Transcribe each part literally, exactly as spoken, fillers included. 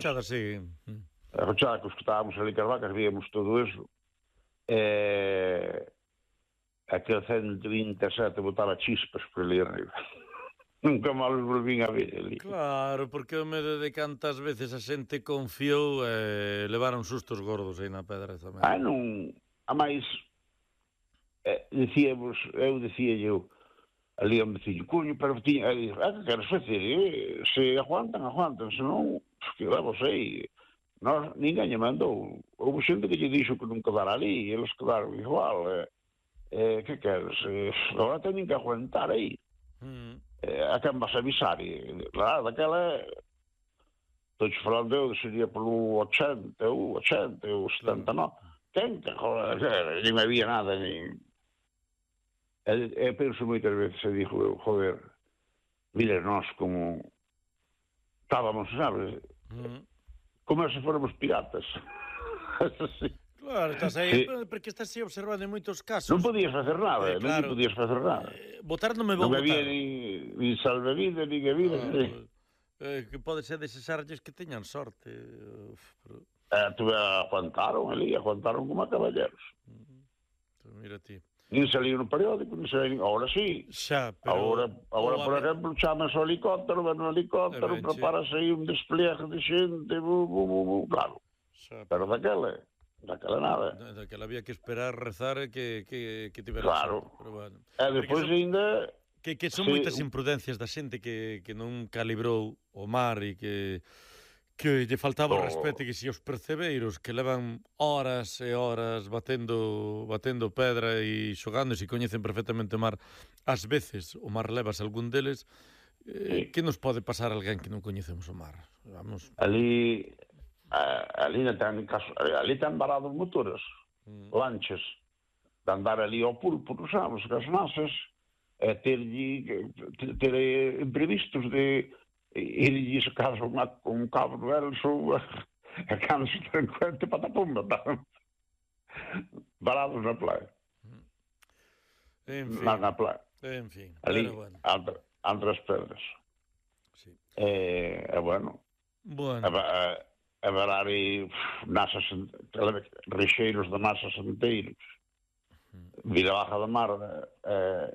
Chada, sí. A fachada que escutábamos ali que as vacas, víamos todo eso. E... aquel ciento vinte e sete botaba chispas por ali arriba. Nunca máis volvín a ver ali. Claro, porque o medo de cantas veces a xente confiou e eh, levaron sustos gordos aí na pedra tamén. Ah, non... A máis... Eh, dicíamos, eu dicía eu, ali ao veciño, coño, pero tiña... Eh, ah, que queres facer? Eh? Se aguantan, aguantan, senón, que levos aí. Nós, ninguén lle mandou. Houve xente que lle dixo que non quedara ali, e eles quedaron igual. Eh, eh, que queres? Eh, agora teñen que aguantar aí. Mm. Eh, a quen vas avisar? E, claro, daquela... Estou falando eu, sería polo ochenta, ou ochenta, ou setenta e nove. Quen que, joder, non había nada, nin... E, e penso moitas veces, e dixo eu, joder, mire, nós como... Estábamos, sabes? Mm. Como se fóramos piratas. Sí. Claro, estás aí, sí. Porque estás aí observando en moitos casos. Non podías facer nada, eh, claro. Non podías facer nada. Eh, votar non me vou non votar. Non había ni, ni salvavidas, ni que vida. Ah, sí. eh, que pode ser desesarlles que teñan sorte. Uf, pero... eh, tuve, aguantaron ali, aguantaron como a caballeros. Uh, pues mira ti. Nin salían no periódico, nin salían... Ahora sí. Xa, pero... Agora, agora por ver... exemplo, chamas ao helicóptero, ven no helicóptero, eh, preparase aí un despliegue de xente, bu, bu, bu, bu, claro. Xa, pero daquela... Daquela nada. Daquela había que esperar, rezar que, que, que tivera claro. Xente, pero bueno. E depois ainda... Que, que son sí. moitas imprudencias da xente que, que non calibrou o mar e que que lle faltaba o oh. respeto, que se os percebeiros que levan horas e horas batendo batendo pedra e xogando, e se coñecen perfectamente o mar, ás veces o mar levas algún deles, eh, sí. que nos pode pasar a alguén que non coñecemos o mar? Vamos. Ali... Uh, ali ten ali ten varados motores, mm. lanchas, de andar ali ao pulpo, non sabes, que as nasas, e ter, ter imprevistos de ir a casa con un cabo no Elso, a canso tranquente patapumba, varados na playa. En fin. Na, na playa. En fin. Ali, bueno. entre, entre as pedras. Sí. E, e bueno. Bueno. A, a, a varar e nasas, rexeiros de nasas enteiros, vira baja da mar, eh,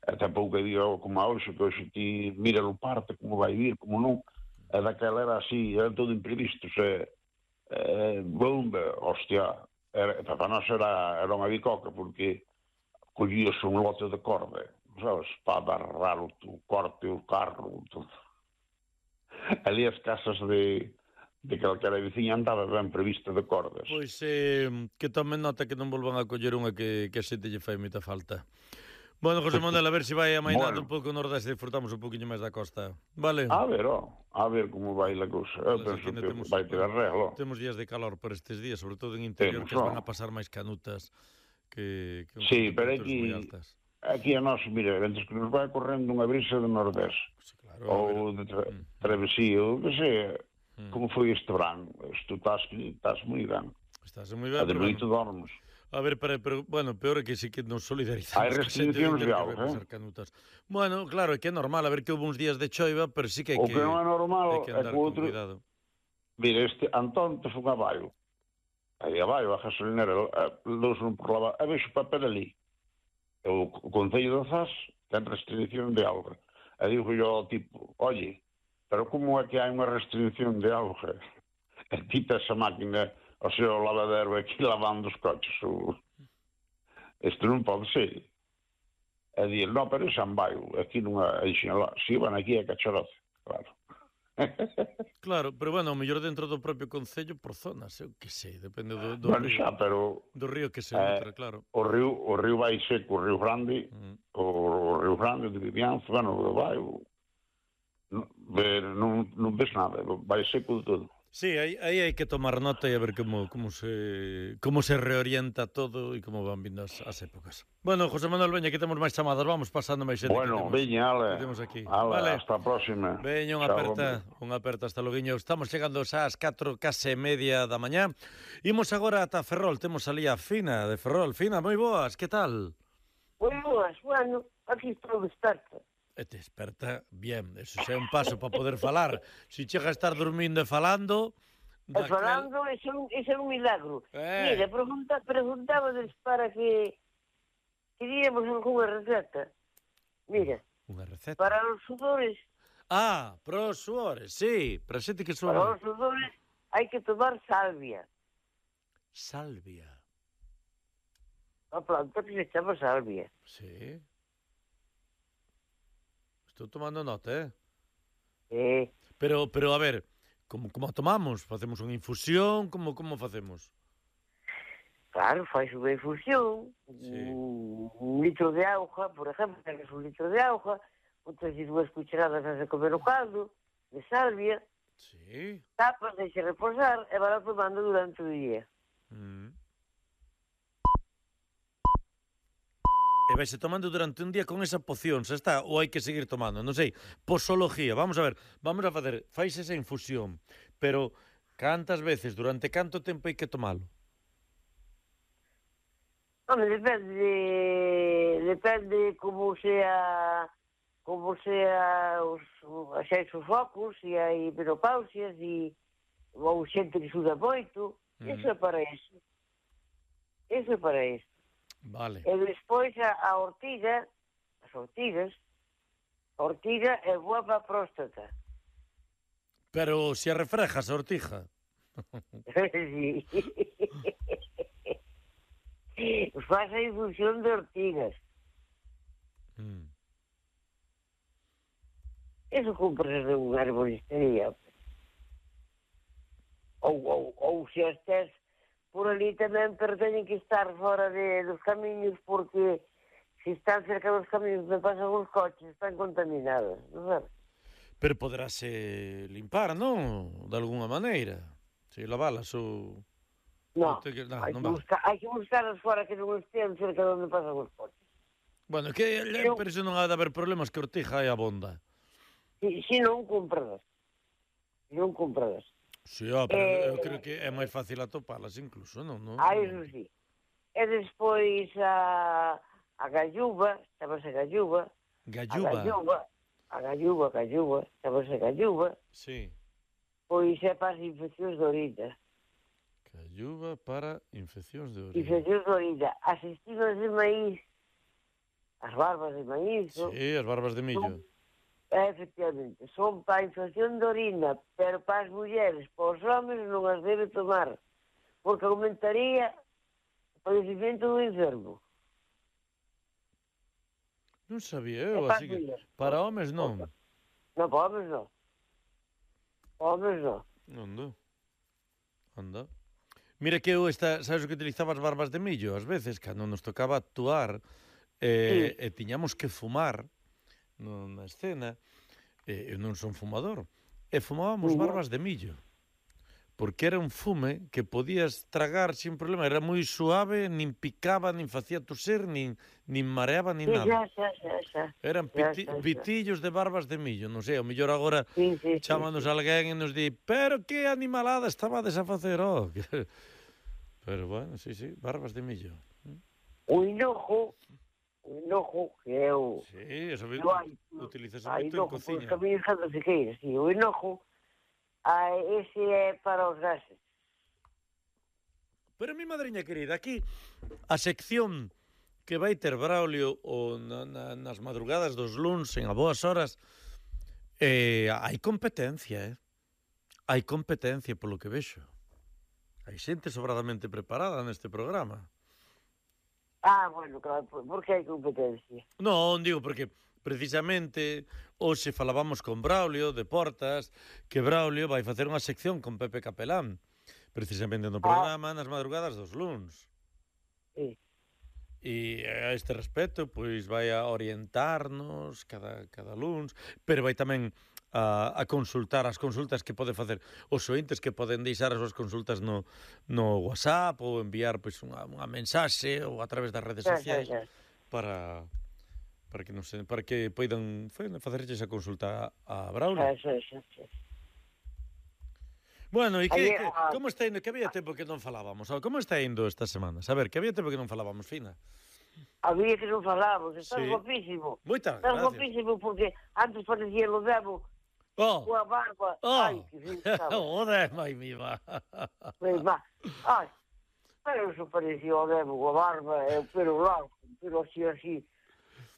até pouco día como a hoxe, que hoxe ti mira o parte, como vai vir, como non, e daquela era así, era todo imprevisto, se, eh, bomba, hostia, era, para nós era, era unha bicoca, porque collías un lote de corda, sabes, para agarrar o, o corte, o carro, todo. Ali as casas de de calquera veciña andaba ben prevista de cordas. Pois eh, que tomen nota que non volvan a coller unha que, que a xente lle fai moita falta. Bueno, José Manuel, a ver se si vai amainando bueno. un pouco o nordeste e disfrutamos un poquinho máis da costa. Vale? A ver, oh, a ver como vai a cousa. Eu vale, penso que temos, vai ter arreglo. Temos días de calor por estes días, sobre todo en interior, temos, que van a pasar máis canutas que, que sí, pero aquí, aquí a nós, mira, antes que nos vai correndo unha brisa de nordeste, sí, claro, ou de tra mm. travesía, ou que sea. Como foi este verano? Isto estás, estás moi ben. Estás moi ben, pero... Ademito bueno. dormos. A ver, pero, pero, bueno, peor é que sí que nos solidarizamos. Hai restriccións de auga, eh? Bueno, claro, é que é normal, a ver que houve uns días de choiva, pero sí que hai que... O que... que non é normal que é que outro... cuidado. Mira, este Antón te foi a baio. Aí a baio, a gasolinera, dous non por lavar. E vexo papel ali. O Concello de Zas ten restricción de auga. E digo yo ao tipo, oye... Pero como é que hai unha restricción de auga? E quita esa máquina, o seu lavadero aquí lavando os coches. O... Isto non pode ser. E dir, non, pero é San Baio, aquí non hai xinalá. Si, van aquí é Cacharoce, claro. Claro, pero bueno, o mellor dentro do propio concello por zonas, eu que sei, depende do, do bueno, río. Xa, pero... Do río que se eh, nutre, claro. O río, o río vai seco, o río Grande, mm. o río Grande de Vivianza, bueno, o vai... O... Non, non, non ves nada, vai seco de todo. Sí, aí, aí hai que tomar nota e a ver como, como, se, como se reorienta todo e como van vindo as, as épocas. Bueno, José Manuel, veña, que temos máis chamadas, vamos pasando máis xente. Bueno, veña, ale, aquí. ale vale. Hasta a próxima. Veña, unha aperta, unha aperta hasta loguiño. Estamos chegando ás catro, case media da mañá. Imos agora ata Ferrol, temos ali a Fina de Ferrol. Fina, moi boas, que tal? Moi boas, bueno, aquí estou desperta. E te desperta bien, eso xa é un paso para poder falar. Se chega a estar dormindo e falando... E falando, ese é un milagro. Eh. Mira, pregunta, preguntábades para que queríamos algunha receta. Mira, unha receta? Para os sudores... Ah, para os sudores, sí, para xente que suda. Para os sudores hai que tomar salvia. Salvia? A planta que se chama salvia. Sí. Estou tomando nota, eh? Sí. Pero, pero a ver, como, como a tomamos? Facemos unha infusión? Como, como facemos? Claro, faz unha infusión. Sí. Un, un litro de auga, por exemplo, tens un litro de auga, botas dúas cucharadas de comer o caldo, de salvia, sí. Tapas, deixa reposar e vai tomando durante o día. Mm. E vaise tomando durante un día con esa poción, xa está, ou hai que seguir tomando, non sei, posología, vamos a ver, vamos a facer, fais esa infusión, pero cantas veces, durante canto tempo hai que tomalo? Home, depende, depende como sea, como sea os, xa os focos, se hai menopausias, e ou xente que suda moito, mm. Iso é para iso. Iso é para iso. Vale. E despois a, a ortiga, as ortigas, a ortiga é boa para a próstata. Pero se a refrejas a ortiga. Sí. Faz a infusión de ortigas. Mm. Eso compras de unha arboristería. Ou, ou, ou se estés por ali tamén, pero teñen que estar fora de, dos camiños, porque se están cerca dos camiños me pasan os coches, están contaminados, non sabes? Pero poderase limpar, non? De alguna maneira. Se lavalas ou... Non, que... no, hai, non que buscar, hai que buscarlas fora que non estean cerca de onde pasan os coches. Bueno, que eu... pero iso non ha de haber problemas, que ortiga é abonda. Si, si non compradas. Si non compradas. Si, sí, oh, pero eh, eu creo que é máis fácil atopalas incluso, non? non? Ah, iso sí. E despois a, a galluva, chamase galluva. Galluva? A galluva, a galluva, a galluva, chamase galluva. Sí. Pois é para as infeccións de orina. Galluva para infeccións de orina. Infeccións de orina. As espigas de maíz, as barbas de maíz. Sí, as barbas de millo. Son, efectivamente, son para a infección de orina, pero para as mulleres, para os homens non as debe tomar, porque aumentaría o padecimento do enfermo. Non sabía eu, así que para homens non. Non, para homens non. Para homens non. Anda. Anda. Mira que eu, esta, sabes o que utilizaba as barbas de millo? Ás veces, cando nos tocaba actuar, eh, sí. e tiñamos que fumar na escena, eh, eu non son fumador, e fumábamos uh-huh. barbas de millo, porque era un fume que podías tragar sin problema, era moi suave, nin picaba, nin facía toser, nin, nin mareaba, nin nada. Sí, xa, xa, xa. Eran piti, xa, xa, xa. pitillos de barbas de millo, non sei, o mellor agora sí, sí, chámanos sí, sí. alguén e nos di, pero que animalada estabades a facer, oh. Pero bueno, sí, sí, barbas de millo. O hinojo, o hinojo que é o... Sí, eso é utilizas moito en cociña. Os camiños cando se queira, sí, o hinojo, a, ese é para os gases. Pero mi madriña querida, aquí a sección que vai ter Braulio o na, na, nas madrugadas dos luns en a boas horas, eh, hai competencia, eh? Hai competencia polo que vexo. Hai xente sobradamente preparada neste programa. Ah, bueno, claro, por que hai competencia? Non, digo, porque precisamente hoxe falábamos con Braulio de Portas, que Braulio vai facer unha sección con Pepe Capelán, precisamente no programa ah. nas madrugadas dos luns. Sí. E a este respecto, pois vai a orientarnos cada, cada luns, pero vai tamén a, a consultar as consultas que pode facer os ointes, que poden deixar as súas consultas no, no WhatsApp ou enviar pois unha, unha mensaxe ou a través das redes sociais sí, sí, sí. para para que non se, para que poidan facerlle esa consulta a Braulio. Sí, sí, sí. Bueno, e que, que como está indo? Que había tempo que non falábamos. Como está indo esta semana? A ver, que había tempo que non falábamos, Fina? Había que non falamos, estás Sí. guapísimo. Moitas Estás gracias. guapísimo porque antes parecía lo demo Oh, coa barba. oh, Ai, que fin estaba. joder, mai viva. Pois va. Ai, pero eso parecía o demo coa barba e o pelo largo, pero así, así.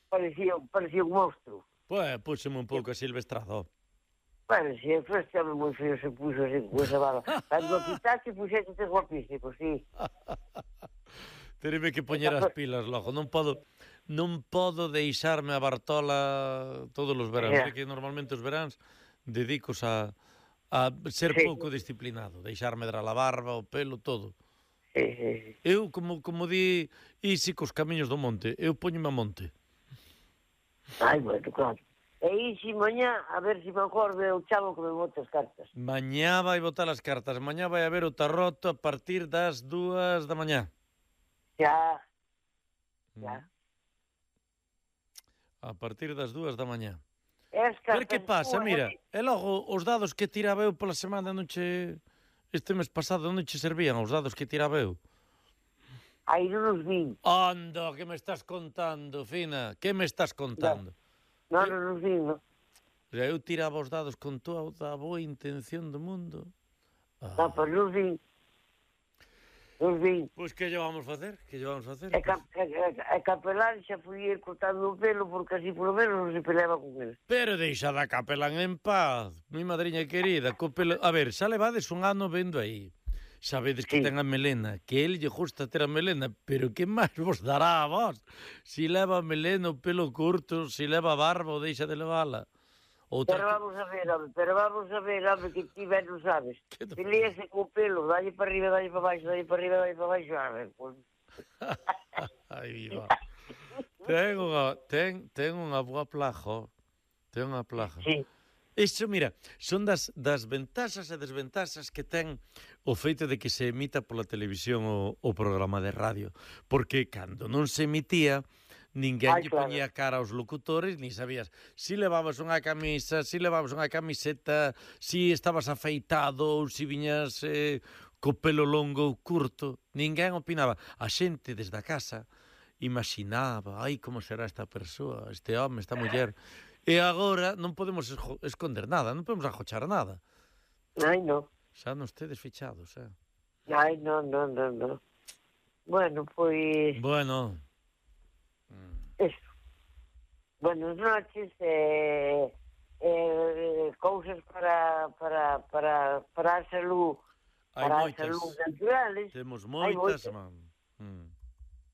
Parecía, parecía un monstro. Pues, púxeme un pouco silvestrado. Bueno, si el este hombre moi feo se puxo así con esa barba. Cando o quitaste, puxeste guapísimo, sí. Tereme que poñer as pilas logo. Non podo non podo deixarme a Bartola todos os veráns. Yeah. Yeah. Que normalmente os veráns dedicos a, a ser Sí. pouco disciplinado. Deixarme dar a barba, o pelo, todo. Sí, sí, sí. Eu, como, como di Isi cos camiños do monte, eu poñome a monte. Ai, bueno, claro. E isi mañá, a ver se me acordo o chavo que me bota as cartas. Mañá vai botar as cartas. Mañá vai haber o tarroto a partir das dúas da mañá. Xa, xa. A partir das dúas da mañá. Es Ver que pasa, mira, e logo os dados que tiraba eu pola semana non che... Este mes pasado non che servían os dados que tiraba eu. Aí non os vin. Anda, que me estás contando, Fina? Que me estás contando? Non, non os vin, non. Ya, eu tiraba os dados con toda a boa intención do mundo. Ah. Non, pero non os vin. Non os vin. Pois que lle vamos facer? Que lle vamos facer? E, cap, e, e, e Capelán xa fui ir cortando o pelo porque así polo menos non se peleaba con ele. Pero deixa da Capelán en paz, mi madriña querida. Co pelo... A ver, xa levades un ano vendo aí. Sabedes que Sí. ten a melena, que el lle gusta ter a melena, pero que máis vos dará a vos? Si leva a melena o pelo curto, si leva barba ou deixa de levala. Outra Pero vamos a ver, home, pero vamos a ver, home, que ti ben non sabes. Que te Pelease co pelo, dalle para arriba, dalle para baixo, dalle para arriba, dalle para baixo, a ver, pues... Ai, viva. Ten unha, ten, ten unha boa plaja, ten unha plaja. Sí, Isto, mira, son das, das ventaxas e desventaxas que ten o feito de que se emita pola televisión o, o programa de radio. Porque cando non se emitía, ninguén Ai, lle claro. poñía cara aos locutores, ni sabías si levabas unha camisa, si levabas unha camiseta, si estabas afeitado ou si viñas eh, co pelo longo ou curto. Ninguén opinaba. A xente desde a casa imaginaba, ai, como será esta persoa, este home, esta muller... E agora non podemos esco- esconder nada, non podemos ajochar nada. ai, non. Xa non estedes fichados, eh? Ai, non, non, non, non. Bueno, pois... Bueno, Eso. Buenas noches, eh, eh, cousas para, para, para, para a salud, hai para a moitas. salud naturales. Temos Hai moitas, moitas. man. Mm.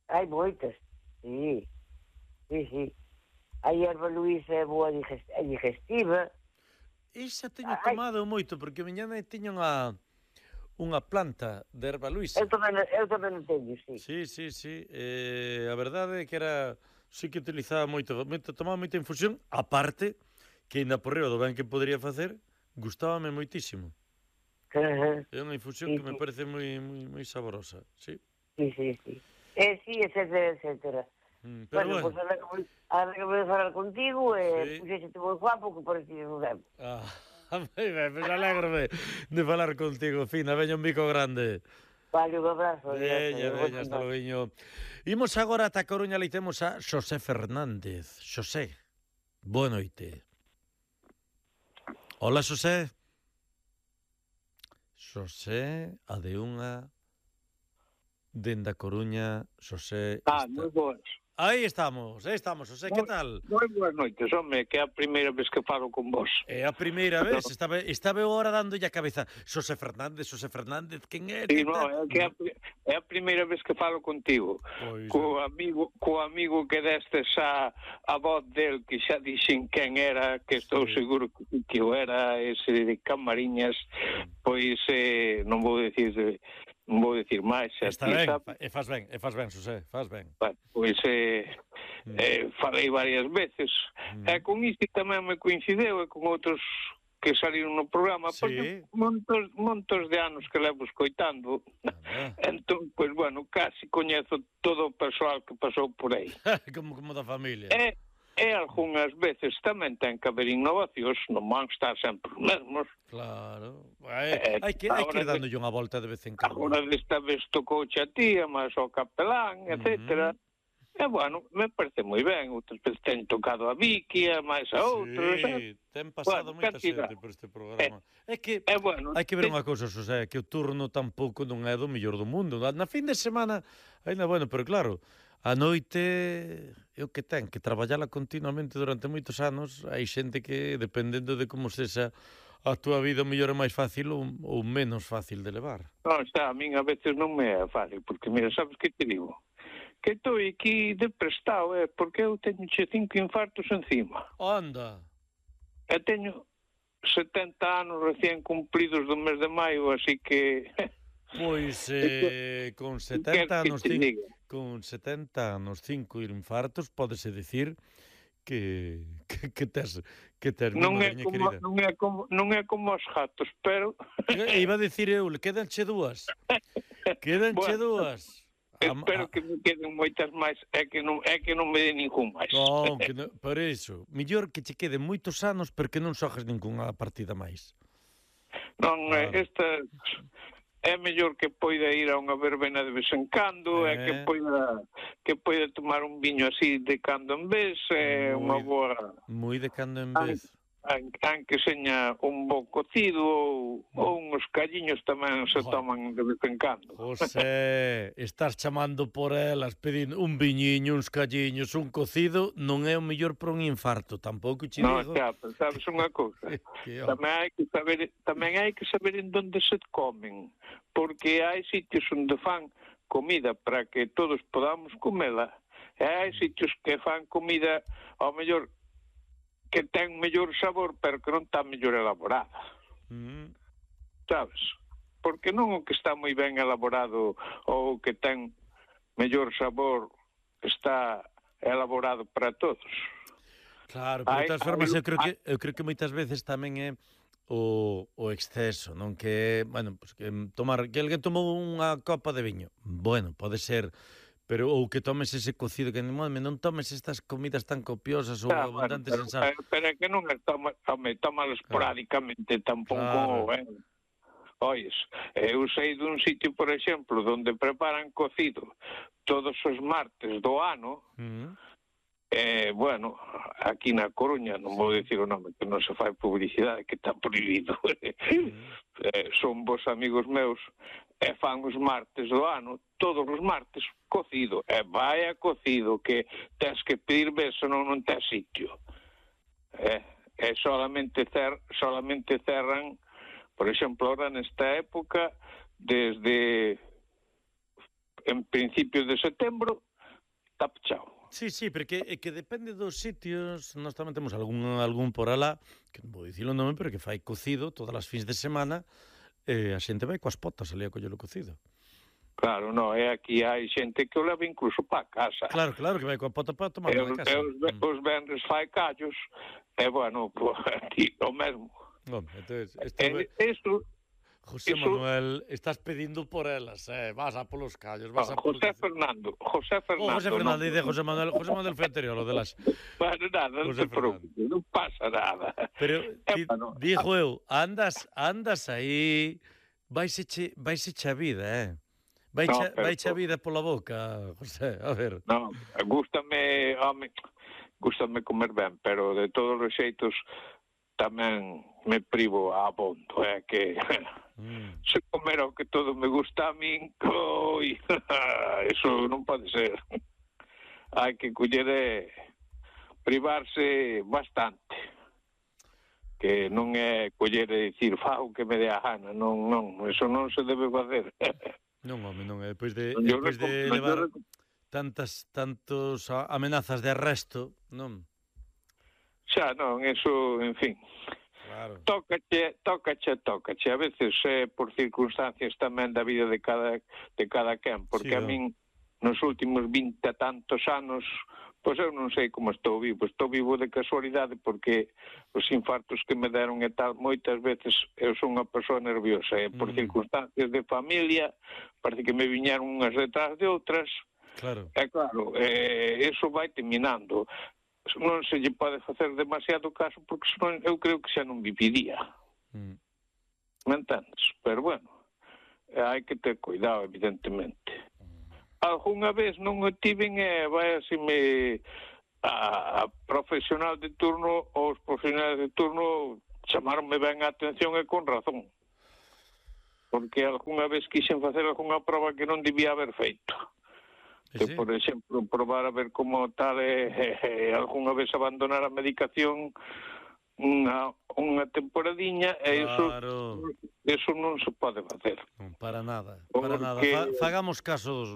Hai moitas, sí, sí, sí. A hierba luisa é boa digest- é digestiva. Esa teño Ai. tomado moito, porque miña nai tiña unha, unha planta de erva luisa. Eu tamén, eu tamén o teño, sí. Sí, sí, sí. Eh, a verdade é que era... Sí que utilizaba moito, moito, tomaba moita infusión, aparte, que ainda por riba do ben que podría facer, gustábame moitísimo. Ajá, É unha infusión Sí, que me sí. parece moi, moi, moi saborosa, sí. sí, sí, sí. Eh, sí, etcétera, etcétera. Mm, pero Bueno, bueno, pois pues, ahora que voy, ahora que voy a falar contigo, eh, Sí. puxéxete moi guapo que pareces un demo. ah, moi ben, pues alégrome de falar contigo, Fina, veña un bico grande. Vale, un abrazo. Veña, adiós, veña, adiós. hasta logo. Imos agora ata Coruña, ali temos a Xosé Fernández. Xosé, boa noite. Hola, Xosé. Xosé, a de unha dende a Coruña, Xosé. Ah, está- moi boas. Aí estamos, aí estamos, Xosé, que tal? Moi boas noites, home, que é a primeira vez que falo con vos. É a primeira vez, estaba, estaba eu ahora dándolle a cabeza. Xosé Fernández, Xosé Fernández, quen é? Sí, Que no, tal? é que é a, pri- é a primeira vez que falo contigo. Pois, Co amigo, co amigo que destes a, a voz del, que xa dixen quen era, que estou Sí. seguro que, que eu era, ese de Camariñas, pois eh, non vou dicir non vou dicir máis. xa Está ti ben, sabes. fa- e faz ben, e faz ben, Xosé, faz ben. Bueno, pois eh, Mm. eh, falei varias veces. Mm. E con isto tamén me coincideu e con outros que saliron no programa, Sí. porque montos, montos de anos que levo escoitando. Anda. Entón, pois, bueno, casi coñezo todo o persoal que pasou por aí. como, como da familia. E, e algunhas veces tamén ten que haber innovacións, non van estar sempre os mesmos. Claro. Hai, Eh, hai que, hai que ir agora dándolle unha volta de vez en cando. Agora desta vez tocou a tía, máis ao capelán, etcétera. E, bueno, me parece moi ben. Outras veces ten tocado a Vicky, a máis a outros. Sí, ten pasado bueno, moita cantidad. xente por este programa. É, é que é bueno, hai que ver te... unha cousa, Xosé, que o turno tampouco non é do mellor do mundo. Na fin de semana, ainda bueno, pero claro, a noite é o que ten, que traballala continuamente durante moitos anos. Hai xente que, dependendo de como sexa a túa vida, o mellor é máis fácil ou, ou menos fácil de levar. Non, xa, a min a veces non me é fácil, porque, mira, sabes que te digo? Que estou aquí de prestado, eh, porque eu teño che cinco infartos encima. Anda! E teño setenta anos recién cumpridos do mes de maio, así que... Pois, eh, con setenta anos, que cinco, con setenta anos, cinco infartos, pódese dicir que, que, que tes, que tes non é miña como, querida. non é como non é como os gatos, pero E iba a dicir eu, quedanche dúas. Quedanche bueno, dúas. Espero a, que me queden moitas máis, é que non é que non me dé ningún máis. Non, que non, por iso, mellor que che queden moitos anos porque non xogas ningunha partida máis. Non, claro. Esta é mellor que poida ir a unha verbena de vez en cando, eh. é que poida que poida tomar un viño así de cando en vez, é unha boa... Moi de cando en vez. Aunque seña un bo cocido ou, ou uns calliños tamén se toman de vez en cando. José, estás chamando por elas pedindo un viñiño, uns calliños, un cocido, non é o mellor para un infarto, tampouco che digo. Non, xa, sabes unha cousa. tamén hai que saber, tamén hai que saber en onde se comen, porque hai sitios onde fan comida para que todos podamos comela, e hai sitios que fan comida ao mellor que ten mellor sabor, pero que non está mellor elaborada. Mm. Sabes? Porque non o que está moi ben elaborado ou o que ten mellor sabor está elaborado para todos. Claro, pero de todas formas eu creo que eu creo que moitas veces tamén é o, o exceso, non que, bueno, pues que tomar que alguén tomou unha copa de viño. Bueno, pode ser, pero ou que tomes ese cocido que non, non tomes estas comidas tan copiosas ou claro, abundantes bueno, en sal. Pero, pero é que non é toma, tome, tómalo esporádicamente, claro. Tampouco, claro. eh. Ois, eu sei dun sitio, por exemplo, donde preparan cocido todos os martes do ano. Uh-huh. Eh, bueno, aquí na Coruña, non vou dicir o nome, que non se fai publicidade, que está prohibido. Uh-huh. eh, son vos amigos meus, e fan os martes do ano, todos os martes, cocido. E vai a cocido, que tens que pedir beso, non non tens sitio. E, e solamente, cer, solamente cerran, por exemplo, ahora nesta época, desde en principios de setembro, está pechado. Sí, sí, porque é que depende dos sitios. Nós tamén temos algún, algún por alá, que non vou dicir o nome, pero que fai cocido todas as fins de semana, e a xente vai coas potas ali a coller o cocido. Claro, no, é aquí hai xente que o leva incluso para casa. Claro, claro, que vai coa pota para tomar na casa. E os, mm. os venres fai callos, e bueno, pues, aquí o mesmo. Hombre, entonces, esto e, ve... Eso... José Eso... Manuel, estás pedindo por elas, eh? Vas a polos callos, vas no, a José polos... Fernando, José Fernando. Oh, José Fernando, no, dice José Manuel, José Manuel foi anterior, lo de las... Bueno, nada, non te preocupes, non pasa nada. Pero, ti, bueno, dijo eu, andas, andas aí, vaise che, vaise che a vida, eh? Vai no, vai che a vida pola boca, José, a ver. Non, gústame, home, gústame comer ben, pero de todos os xeitos tamén me privo a abondo, é eh, que mm. se comer o que todo me gusta a min, coi, eso non pode ser. Hai que coller e privarse bastante, que non é coller e dicir fago que me dé a gana, non, non, eso non se debe facer. Non, home, non, é depois de, depois de levar tantas, tantos amenazas de arresto, non? Xa, non, eso, en fin, claro. Tócache, tócache, tócache. A veces é eh, por circunstancias tamén da vida de cada de cada quen, porque sí, a min nos últimos vinte tantos anos, pois eu non sei como estou vivo, estou vivo de casualidade porque os infartos que me deron e tal, moitas veces eu son unha persoa nerviosa, e por mm. circunstancias de familia, parece que me viñeron unhas detrás de outras. Claro. E claro, eh, eso vai terminando. Non se lle pode facer demasiado caso porque senón eu creo que xa non viviría. Mm. Me entendes? Pero bueno, hai que ter cuidado, evidentemente. algunha vez non o tiven e vai así me a, a profesional de turno ou os profesionales de turno chamaronme ben a atención e con razón, porque algunha vez quixen facer algunha prova que non debía haber feito. Que, sí? Por exemplo, probar a ver como tal e, e, e algunha vez abandonar a medicación unha, unha temporadiña e claro. iso, iso non se pode facer. Non, para nada, para Porque... nada. Fa, fagamos caso dos